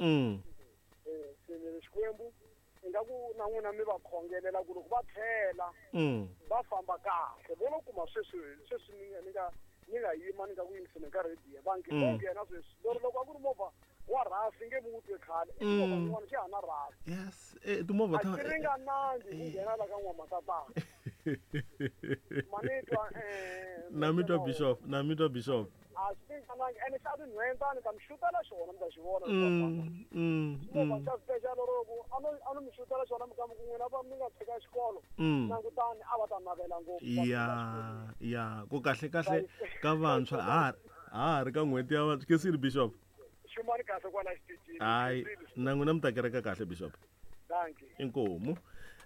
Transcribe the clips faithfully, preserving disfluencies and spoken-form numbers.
Mm. Eh, se ni ri Xikwembu ingaku na n'wina mi va khongelela ku loko va tlhela Mm. va famba kahle vo no kuma sweswi sweswi ni nga ni nga ni nga yima ni nga ku yingiseni ka radio va nge Mm. vo nghena sweswi lero loko a ku ri movha wa rhasi nge mi wu twe khale i movha Mm. yin'wana xi ha na rhasi Yes, eh timovha a ta xi ringanangi ku nghena la ka n'wamatatana ma ni twa eh, na mi twa bishop na mi twa bishop a swi ringanangi ene xa tinhwentani ta mi xutela xona mi ta xi vona mm mm movha mm xa special loko a no a no mi xutela xona mi kamba ku n'wina va mi nga tshika xikolo mm langutani a va ta navela ngopfu va ya fika xikolweni. ya ku kahle kahle ka vantshwa ha ha ha ri ka n'hweti ya vantshwa kesini bishop xumani kahle kwala xitichini hayi na n'wina mi ta kereka kahle bishop danki inkomu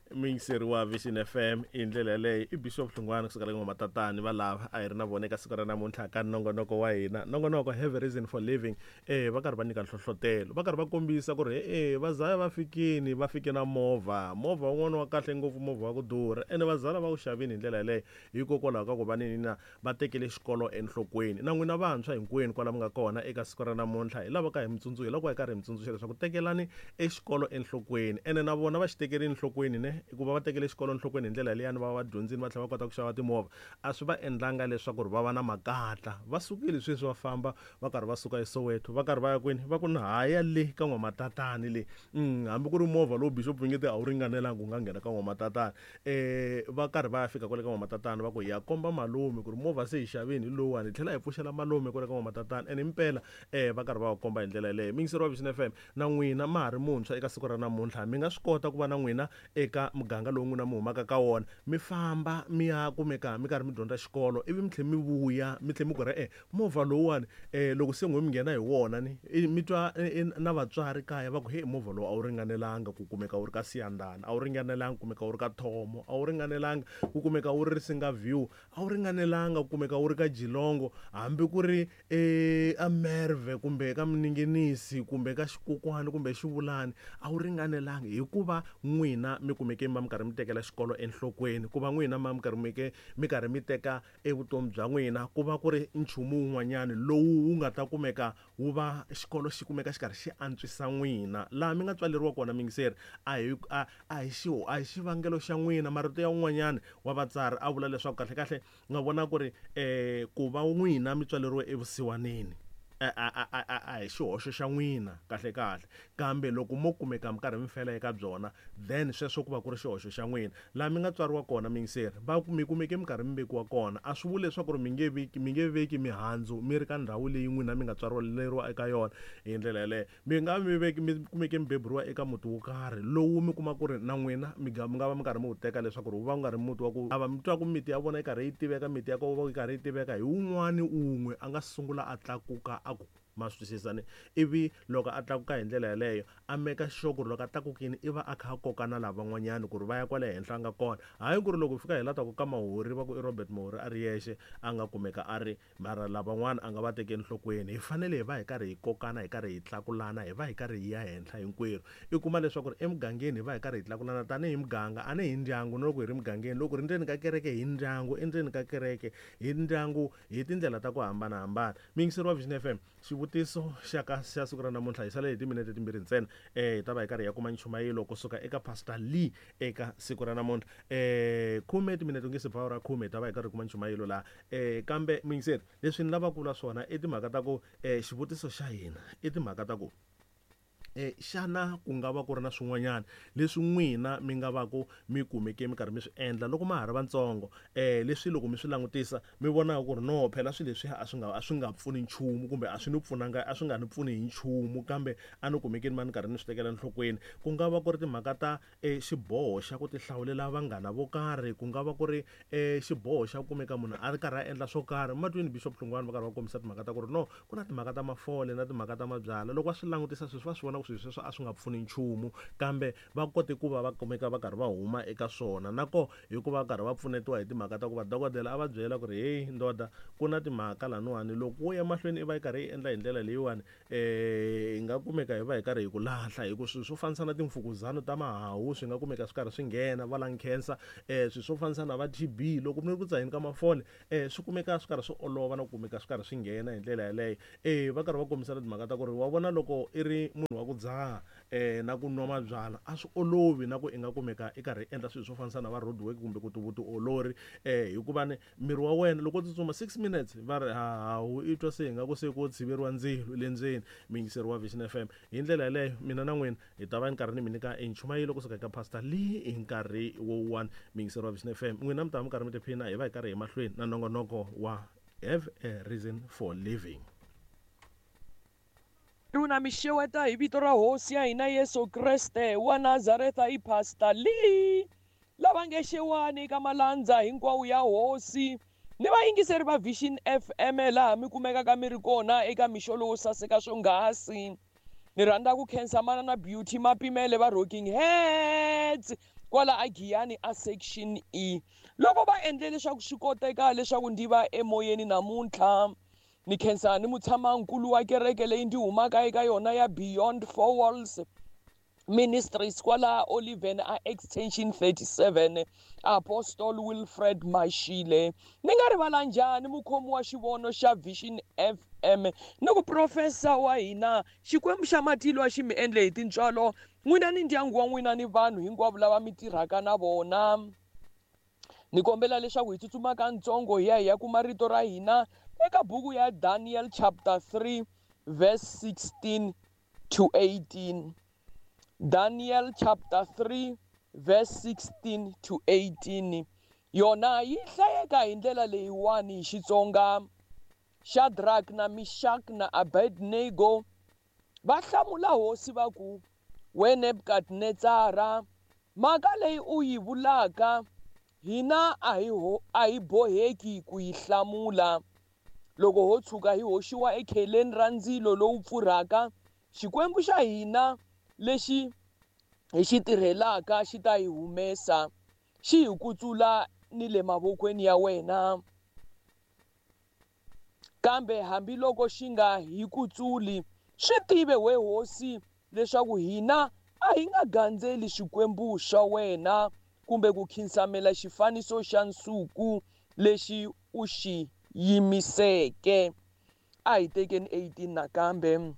muyingiseri wa Vision F M i ndlela yaleyo i Bishop Hlungwani kusuka ka N'wamatatani va lava a hi ri na vona eka siku ra namuntlha ka nongonoko wa hina nongonoko have a reason for living eh va karhi va nyika nhlohlotelo va karhi va kombisa ku ri e vazaya va fikini va fike na movha movha wun'wana wa kahle ngopfu movha wa ku durha ene vazala va wu xavini hi ndlela yaleyo hikokwalaho ka ku va nini na va tekele xikolo enhlokweni na n'wina vantshwa hinkwenu kwala mi nga kona eka siku ra namuntlha hi lava ka hi mitsundzuxa hi lava ku va hi karhi hi mitsundzuxa leswaku tekelani exikolo enhlokweni ene na vona va xi tekelini enhlokweni ne hikuva va tekele xikolo enhlokweni hi ndlela leyani va va dyondzini va tlhela va kota ku xava timovha a swi va endlanga leswaku ri va va na makatla va sukile sweswi va famba va karhi va suka eSoweto va karhi va ya kwini va ku ni haya le ka N'wamatatani le mm, hambi ku ri movha lowu bishop nge te a wu ringanelanga wu nga nghena ka N'wamatatani eh va karhi va ya fika kwale ka N'wamatatani va ku hi ya komba malume ku ri movha se hi xavini hi lowuwani hi tlhela hi pfuxela malume kwale ka N'wamatatani ene impela eh va karhi va va komba hi ndlela yaleyo muyingiseri wa Vision F M na n'wina ma ha ri muntshwa eka siku ra namuntlha mi nga swi kota ku va na n'wina eka muganga lowu n'wina mi humaka ka wona mi famba mi ya kumeka mi karhi mi dyondza xikolo ivi mi tlhela mi vuya mi tlhela mi ku ri e movha lowuwani eh loko se n'we mi nghena hi wona ni mi twa na vatswari kaya va ku he movha lowu a wu ringanelanga ku kumeka wu ri ka Siyandhani a wu ringanelanga ku kumeka wu ri ka Thomo a wu ringanelanga ku kumeka wu ri Risinga View a wu ringanelanga ku kumeka wu ri ka Jilongo hambi ku ri eh Amerve kumbe ka Mninginisi kumbe ka Xikokwani kumbe Xivulani a wu ringanelanga hikuva n'wina mi kumeke mi karhi mi tekela xikolo enhlokweni ku va n'wina ma mi karhi mi mi karhi mi teka evutomi bya n'wina ku va ku ri nchumu wun'wanyani lowu wu nga ta kumeka wu va xikolo xi kumeka xi karhi xi antswisa n'wina laha mi nga tswaleriwa kona muyingiseri a hi a a hi xi a hi xivangelo xa n'wina marito ya un'wanyani wa vatsari a vula leswaku kahle kahle nga vona ku ri eh ku va n'wina mi tswaleriwe evusiwaneni a a a a a hi xihoxo xa n'wina kahle kahle kambe loko mo kumeka mi karhi mi fela eka byona then sweswo ku va ku ri xihoxo xa n'wina laha mi nga tswariwa kona muyingiseri va mi kumeke mi karhi mi vekiwa kona a swi vuli leswaku ri mi nge veki mi nge veki mihandzu mi ri ka ndhawu leyi n'wina mi nga tswariwa eka yona hi ndlela yaleyo mi nga mi veki mi kumeke mi beburiwa eka muti wo karhi lowu mi kuma ku ri na n'wina mi nga mi nga va mi karhi mi wu teka leswaku ri wu va wu nga ri muti wa ku ava mi twa ku miti ya vona yi karhi yi tiveka miti ya ko yi karhi yi tiveka hi wun'wani un'we a nga sungula a tlakuka a ku ma swi twisisa ni ivi loko a tlakuka hi ndlela yaleyo a meka sure ku ri loko a tlakukini i va a kha a koka na lavan'wanyani ku ri va ya kwale henhla a nga kona hayi ku ri loko fika hi la ta ku ka Mahori va ku i Robert Mahori a ri yexe a nga kumeka a ri mara lavan'wana a nga va teki enhlokweni hi fanele hi va hi karhi hi kokana hi karhi hi tlakulana hi va hi karhi hi ya henhla hinkwerhu i kuma leswaku ri emugangeni hi va hi karhi hi tlakulana tanihi muganga a ni hi ndyangu na loko hi ri mugangeni loko ri ndzeni ka kereke hi ndyangu endzeni ka kereke hi ndyangu hi tindlela ta ku hambanahambana muyingiseri wa Vision F M xivutiso xa ka xa siku ra namuntlha hi sale hi timinete timbirhi ntsena eh hi ta va hi karhi hi ya kuma nchumayelo kusuka eka Pastor Lee eka siku ra namuntlha eh khume timinete nge se ba ra khume hi ta va hi karhi hi kuma nchumayelo laha eh kambe muyingiseri leswi ni lavaka ku vula swona i timhaka ta ku eh xivutiso xa hina i timhaka ta ku eh xana ku nga va ku ri na swin'wanyana leswi n'wina mi nga va ku mi kumeke mi karhi mi swi endla loko ma ha ri vatsongo eh leswi loko mi swi langutisa mi vonaka ku ri no phela swilo leswi a swi nga a swi nga pfuni nchumu kumbe a swi ni pfunanga a swi nga ni pfuni hi nchumu kambe a ni kumeke ni ma ni karhi ni swi tekela enhlokweni ku nga va ku ri timhaka ta eh xiboho xa ku tihlawulela vanghana vo karhi ku nga va ku ri eh xiboho xa ku kumeka munhu a ri karhi a endla swo karhi matwini Bishop Hlungwani va karhi va kombisa timhaka ta ku ri no ku na timhaka ta mafole na timhaka ta mabyala loko va swi langutisa sweswi va swi vona ku swilo sweswo a swi nga pfuni nchumu kambe va kote ku va va kumeka va karhi va huma eka swona na ko hikuva va karhi va pfunetiwa hi timhaka ta ku va dokodela a va byela ku ri hey ndoda ku na timhaka laniwani loko wo ya mahlweni i va yi karhi yi endla hi ndlela leyiwani eh hi nga kumeka hi va hi karhi hi ku lahla hi ku swilo swo fanisa na timfukuzano ta mahawu swi nga kumeka swi karhi swi nghena va lung cancer eh swilo swo fanisa na va T B loko mi ri ku dzaheni ka mafole eh swi kumeka swi karhi swi olova na ku kumeka swi karhi swi nghena hi ndlela yaleyo eh va karhi va kombisana timhaka ta ku ri wa vona loko i ri munhu wa ku dzaha um na ku nwa mabyalwa a swi olovi na ku i nga kumeka i karhi endla swilo swo fanisa na va road work kumbe ku vutiolori um hikuva ni miri wa wena loko u tsutsuma six minutes va ri hawu i twa se hi nga ku se ko tshiveriwa ndzilo le ndzeni. Muyingiseri wa Vision F M, hi ndlela yaleyo mina na n'wina hi ta va ni karhi ni mi nyika enchumayelo kusuka eka Pastor Lee hi nkarhi wo one. Muyingiseri wa Vision F M, n'wina mi ta va mi karhi mi tiphina, hi va hi karhi hi mahlweni na nongonoko wa Have a Reason for Living. Runa mi xeweta hi vito ra hosi ya hina Yesu Kreste wa Nazareta i Pastor Lee lava nge xewani ka malandza hinkwawo ya hosi ni vayingiseri va Vision F M laha mi kumekaka mi ri kona eka mixo lowo saseka swonghasi. Ni rhandza ku khensa mana na Beauty Mapimele va Rocking Heads kwala a Giyani a Section E loko va endle leswaku swi koteka leswaku ndzi va emoyeni namuntlha. Ni khensa ni mutshamankulu wa kereke leyi ndzi humaka eka yona ya Beyond Four Walls Ministries kwala Oliven a Extension thirty-seven, Apostle Wilfred Mashile. Ni nga rivala njhani mukhomi wa xivono xa Vision F M ni ku profesa wa hina Xikwembu xa matilo a xi mi endle hi tintswalo n'wina ni ndyangu wa n'wina ni vanhu hinkwavo lava mi tirhaka na vona. Ni kombela leswaku hi tsutsuma katsongo hi ya hi ya kuma rito ra hina eka buku ya Daniel chapter three verse sixteen to eighteen. Daniel chapter three verse sixteen to eighteen. Yona yi hlayeka hi ndlela leyiwani hi Xitsonga. Shadrach na Meshach na Abednego va hlamula hosi va ku, we Nebukadnetsara, mhaka leyi u yi vulaka hina a hi a hi boheki ku yi hlamula. Loko ho tshuka hi hoxiwa ekheleni ra ndzilo lowu pfurhaka, Xikwembu xa hina lexi hi xi tirhelaka xi ta hi humesa, xi hi kutsula ni le mavokweni ya wena. Kambe hambiloko xi nga hi kutsuli, swi tive we hosi leswaku hina a hi nga gandzeli swikwembu swa wena kumbe ku khinsamela xifaniso xa nsuku lexi u xi yimiseke. A hi tekeni eighteen nakambe.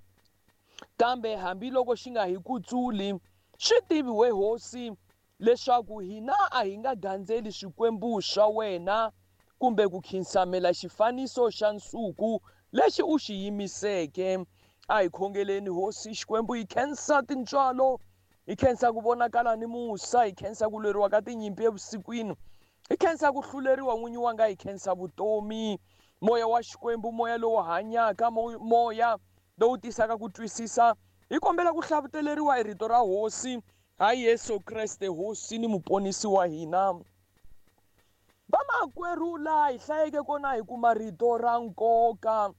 Kambe hambiloko xi nga hi kutsuli, swi tiviwe hosi leswaku hina a hi nga gandzeli swikwembu swa wena kumbe ku khinsamela xifaniso xa nsuku lexi u xi yimiseke. A hi khongeleni hosi Xikwembu, hi khensa tintswalo, hi khensa ku vonakala ni musa, hi khensa ku lweriwa ka tinyimpi evusikwini, hi khensa ku hluleriwa n'winyi wanga, hi khensa vutomi. Moya wa Xikwembu, moya lowu hanyaka, moya lowu tisaka ku twisisa, hi kombela ku hlavuteleriwa hi rito ra hosi ha Yesu Kreste hosi ni muponisi wa hina. Vamakwerhu, laha hi hlayeke kona hi kuma rito ra nkoka.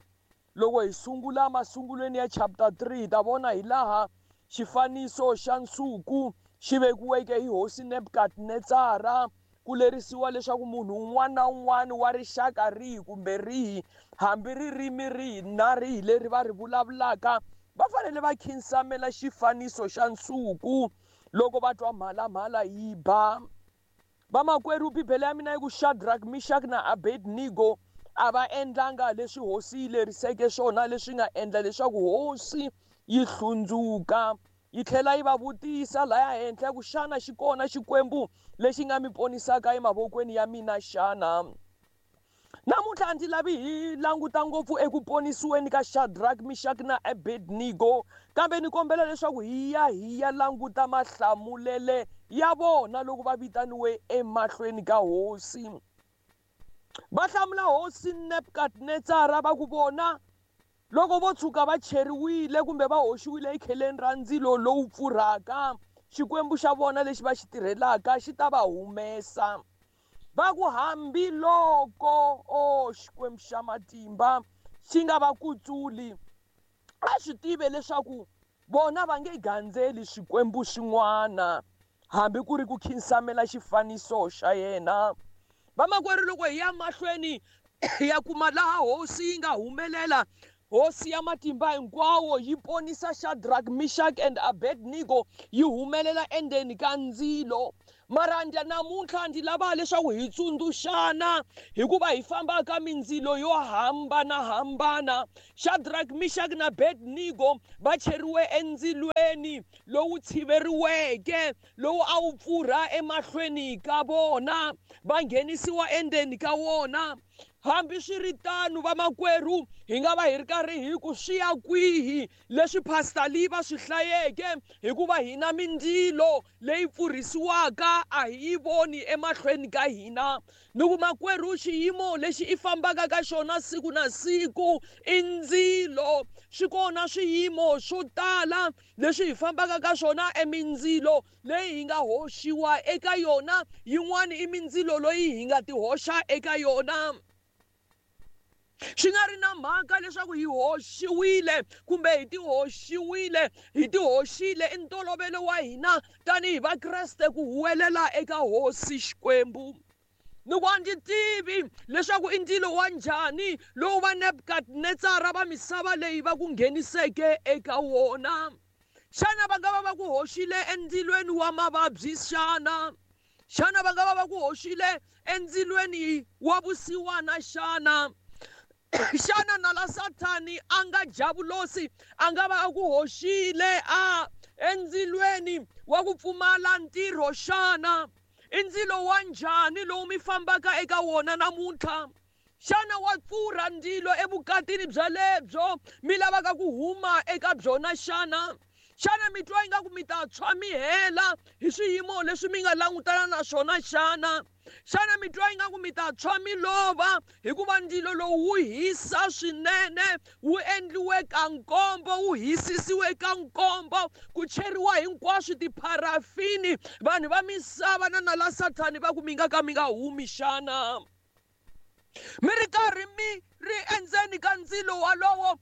Loko hi sungula masungulweni ya chapter three hi ta vona hi laha xifaniso xa nsuku xi vekiweke hi hosi Nebukadnetsara ku lerisiwa leswaku munhu un'wana na un'wana wa rixaka rihi kumbe rihi, hambi ririmi rihi na rihi leri va ri vulavulaka, va fanele va khinsamela xifaniso xa nsuku loko va twa mhalamhala yi ba. Vamakwerhu, Bibele ya mina yi ku Shadrach, Meshach na Abednego a va endlanga leswi hosi yi leriseke swona, leswi nga endla leswaku hosi yi hlundzuka. Yi tlhela yi va vutisa laya henhla ku xana xi kona Xikwembu lexi nga mi ponisaka emavokweni ya mina xana? Namuntlha a ndzi lavi hi languta ngopfu eku ponisiweni ka Shadrach, Meshach na Abednego, kambe ni kombela leswaku hi ya hi ya languta mahlamulele ya vona loko va vitaniwe emahlweni ka hosi. Va hlamula hosi Nebukadnetsara va ku vona loko vo tshuka va cheriwile kumbe va hoxiwile ekheleni ra ndzilo lowu pfurhaka, Xikwembu xa vona lexi va xi tirhelaka xi ta va humesa. Va ku hambiloko o Xikwembu xa matimba xi nga va kutsuli, a swi tive leswaku vona va nge gandzeli swikwembu swin'wana hambi ku ri ku khinsamela xifaniso xa yena. Vamakwerhu, loko hi ya mahlweni hi ya kuma laha hosi yi nga humelela, Hosi ya matimba hinkwawo yi ponisa Shadrach, Meshach and Abednego yi humelela endzeni ka ndzilo. Mara namuntlha ndzi lava leswaku hi tsundzuxana hikuva hi famba ka mindzilo yo hambanahambana. Shadrach, Meshach na Abednego va cheriwe endzilweni lowu tshiveriweke lowu a wu pfurha emahlweni ka vona, va nghenisiwa endzeni ka wona. Hambiswiritano vamakwerhu, hi nga va hi ri karhi hi ku swi ya kwihi leswi Pastor Lee va swi hlayeke, hikuva hina mindzilo leyi pfurhisiwaka a hi yi voni emahlweni ka hina. Ni ku makwerhu, xiyimo lexi i fambaka ka xona siku na siku i ndzilo. Swi kona swiyimo swo tala leswi hi fambaka ka swona emindzilo leyi hi nga hoxiwa eka yona, yin'wana i mindzilo leyi hi nga ti hoxa eka yona. Swi nga ri na mhaka leswaku hi hoxiwile kumbe hi ti hoxiwile, hi ti hoxile i ntolovelo wa hina tanihi Vakreste ku huwelela eka Hosi Xikwembu. Ni ku a ndzi tivi leswaku i ndzilo wa njhani lowu va Nebukadnetsara va misava leyi va ku ngheniseke eka wona. Xana va nga va va ku hoxile endzilweni wa mavabyi xana? Xana va nga va va ku hoxile endzilweni wa vusiwana xana? Xana nala Sathani a nga javulosi a nga va a ku hoxile a endzilweni wa ku pfumala ntirho xana? I ndzilo wa njhani lowu mi fambaka eka wona namuntlha? Xana wa pfurha ndzilo evukatini bya lebyo mi lavaka ku huma eka byona xana? Xana mi twa ingaku mi ta tshwa mi hela hi swiyimo leswi mi nga langutana na swona xana? Xana mi twa ingaku mi ta tshwa mi lova hikuva ndzilo lowu wu hisa swinene, wu endliwe ka nkombo, wu hisisiwe ka nkombo, ku cheriwa hinkwaswo tipharafini, vanhu va misava na nala Sathani va ku mi nga ka mi nga humi xana? Mi ri karhi mi ri endzeni ka ndzilo walowo,